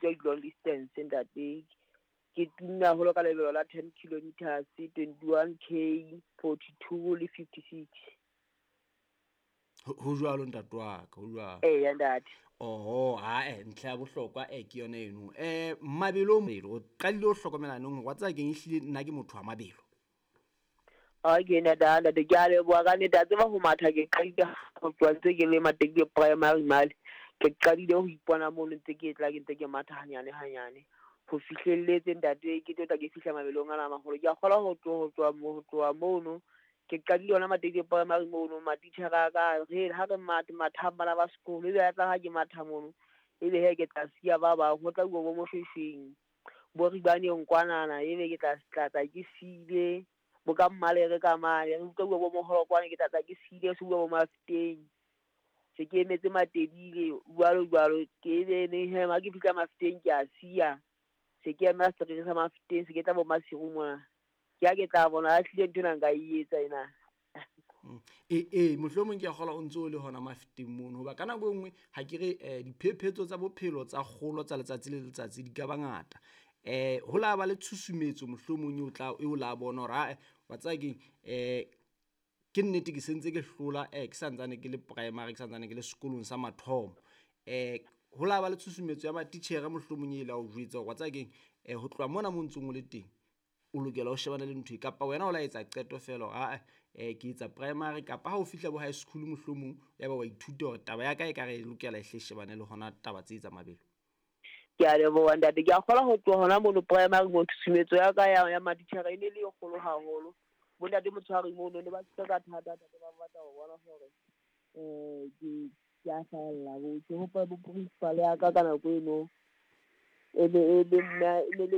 bitswa di-long distance ntate. Ke tumme haholo ka lebelo la 10 kilometers, 21 K, 42 le 56. Ho jwalo, ntate wa ka, ho jwalo. Eya, ntate. Oho, ae, ntlha ya bohlokwa ke yona eno. Mabelo o qadile ho hlokomela neng hore wa tseba keng, ehlile nna ke motho wa mabelo? Okay, ntate, ntate, ke a leboha ka nnete. A tseba ho matha ke qadile ho tloha ntse ke le Matekile Primary male. Ke qadile ho ipona mono ntse ke tla ke ntse ke matha hanyane hanyane ho fihlelletse, ntate, ke tlo tla ke fihla mabelong ana a maholo. Ke a kgolwa ho tloha mono ke qadile yona Matekile Primary mono. Matitjhere a ka re ha re mathe mathang bana ba sekolo, ebe ya tla ha ke matha mono, ebe he ke tla siya ba bang, ho tla uwa bo Moshweshweng, bo Ribaneng kwanana, ebe ke tla tla ke siile bo ka Mmalere ka mane, re utlwa bua bo Moholokwane, ke tla tla ke siile se bua bo Mafeteng, se ke emetse Matebile, jwalo jwalo. Ke ebe neng he ha ke fihla Mafeteng ke a siya, se ke emela setereke sa Mafeteng, se ke tla bo Maseru mona, ke ha ke tla bona a hlile ntho ena nka e etsa ena. Ee, mohlomong ke a kgolwa o ntse o le hona Mafeteng mono, hoba ka nako e nngwe ha ke re diphephetso tsa bophelo tsa kgolo tsa letsatsi le letsatsi di ka ba ngata. Ho la ba le tshusumetso mohlomong eo tla eo la bona hore ae, wa tseba keng, ke nnete ke sentse ke hlola ke santsane ke le primary, ke santsane ke le sekolong sa mathomo. Ho la ba le tshusumetso ya matitjhere mohlomong e la o jwetsa hore wa tseba keng, ho tloha mona mo ntsong o le teng o lokela ho shebana le ntho e, kapa wena o la etsa qeto feela hore ae, ke etsa primary, kapa ha o fihla bo high school mohlomong ya ba wa ithuta hore taba ya ka e ka re e lokela e hle shebane le hona taba tse tsa mabelo? Ke a leboha, ntate. Ke a kgolwa ho tloha hona mono primary mo, tshusumetso ya ka ya matitjhere e ne le e kgolo haholo. Bo ntate Motshwari mono ne ba thusa ka thata, ntate, ba batla ho bona hore ke a hlahella. Bo ke hopola bo principal ya ka ka nako eno e ne e le mme, e ne le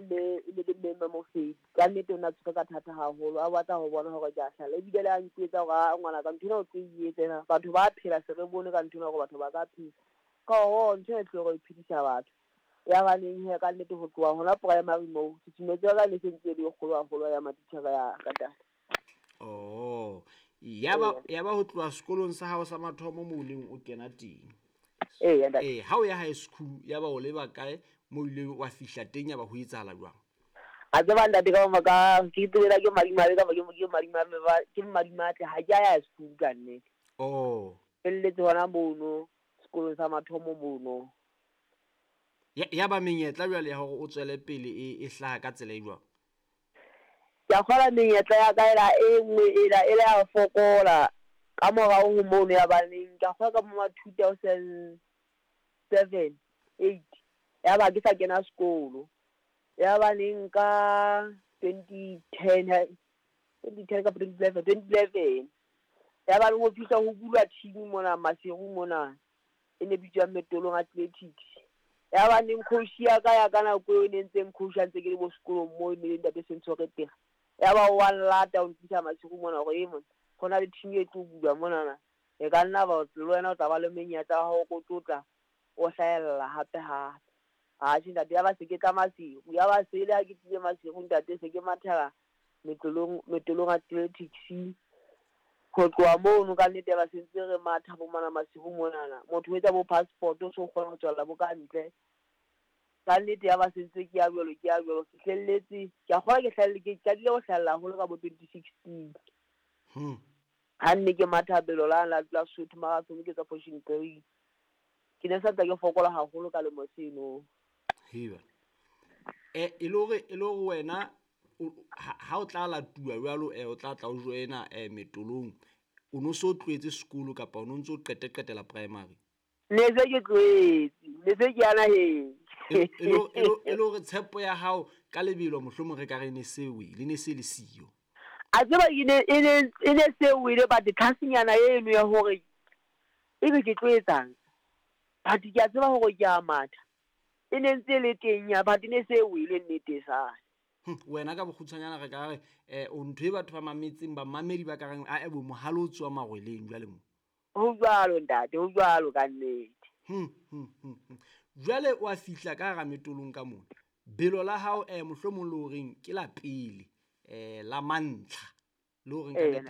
mme Mamofedi. Ka nnete o ne a tshwere ka thata haholo, a batla ho bona hore ke a hlahella, ebile le a nketsa hore a ngwana ka ntho ena o tlo e etsa ena, batho ba phela, se re bone ka ntho ena hore batho ba ka phela ka ho ntho e tlo re phedisa batho. Ya baneng he, ka nnete ho tloha hona primary moo, tshusumetso ya ka ne se ntse e le e kgolo haholo ya matitjhere ya ka, ntate. Oh, yaba ho tloha sekolong sa hao sa mathomo moo o neng o kena teng. Eya, ntate. Ha o ya high school, yaba o leba kae mo o ile wa fihla teng, yaba ho etsahala jwang? A tseba, ntate, ka maka ke tsebela ke madimabe kapa ke madimabe ke madimatle, ha ke a ya school ka nnete. Felletse hona mono sekolong sa mathomo mono. Ya ba menyetla jwale ya hore o tswele pele e hlaha ka tsela e jwang? Ke a kgolwa menyetla ya ka ela e nngwe ela ya fokola ka morao ho mono. Ya baneng ke a kgolwa ka bo ma 2007, 8, ya ba ke sa kena sekolo. Ya baneng ka 2010, 2010 kapa 2011, 2011, ya baneng ho fihla ho bulwa team mona Maseru mona e ne bitswang Metolong Athletics. Ya baneng coach ya ka ya ka nako eo e ne ntseng coach a ntse ke le bo sekolong moo, e ne le ntate Sentshore Tega. Ya ba wa nlata, o ntlisa Maseru mona hore e mona ho na le team e tlo bulwa monana, e ka nna ba le wena o tla ba le menyetla wa hore o tlo tla o hlahella hape hape. Atjhe, ntate, ya ba se ke tla Maseru, ya ba se le ha ke tlile Maseru, ntate, se ke mathela Metolong Athletics. Ho tloha mono, ka nnete, ya ba se ntse re matha bo mona Maseru monana, motho o etsa bo passport, o so kgona ho tswella bo ka ntle. Ka nnete ya ba se ntse ke ya jwalo, ke ya jwalo, fihlelletse. Ke a kgolwa ke hlahelle, ke qadile ho hlahella haholo ka bo 2016 ha nne ke matha belo la Sotho Marathon, ke tswa position 3. Ke ne sa tla ke fokola haholo ka lemo seno. Heba. E le hore wena ha o tla latuwa jwalo, o tla tla o joina Metolong, o no so tlohetse sekolo kapa o no ntso qete qetela primary? Ne se ke tlohetse, ne se ke ya naheng. E le hore tshepo ya hao ka lebelo mohlomong re ka re ne se wele, ne se le siyo? A tseba e ne se wele, but tlhasenyana eno ya hore ebe ke tlo etsang, but ke a tseba hore ke a matha, e ne ntse e le teng ya, but ne se wele nnete sane. Wena ka bokgutshwanyana re ka re o ntho e batho ba mametseng, bamamedi ba ka reng a ebo mohale o tsoa marweleng jwale mo. Ho jwalo, ntate, ho jwalo ka nnete. Jwale wa fihla ka hara Metolong ka mona, belo la hao mohlomong le horeng ke la pele, la mantlha le horeng ka nnete.